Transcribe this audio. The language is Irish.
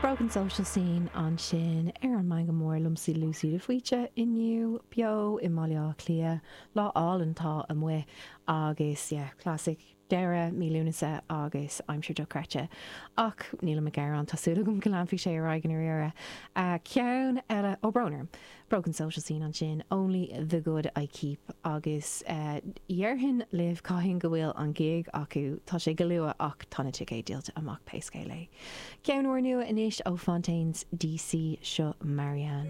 Broken Social Scene ansin ar an Meangadh Mór liomsa Lucy de Faoite inniu beo i mBaile Átha Cliath. Lá álainn atá amuigh agus yeah, classic deireadh mí Lúnasa agus aimsir dochreidte. Ach nílim ag gearán, tá súil agam go leanfaidh sé ar aghaidh i ndáiríre. Ceann eile, ó brón orm! Broken Social Scene ansin, Only the Good I Keep agus dhéarfainn libh cathain go bhfuil an gig acu, tá sé go luath ach tá na ticéid díolta amach pé scéal é. Ceann úrnua anois ó Fontaines DC, seo Marianne.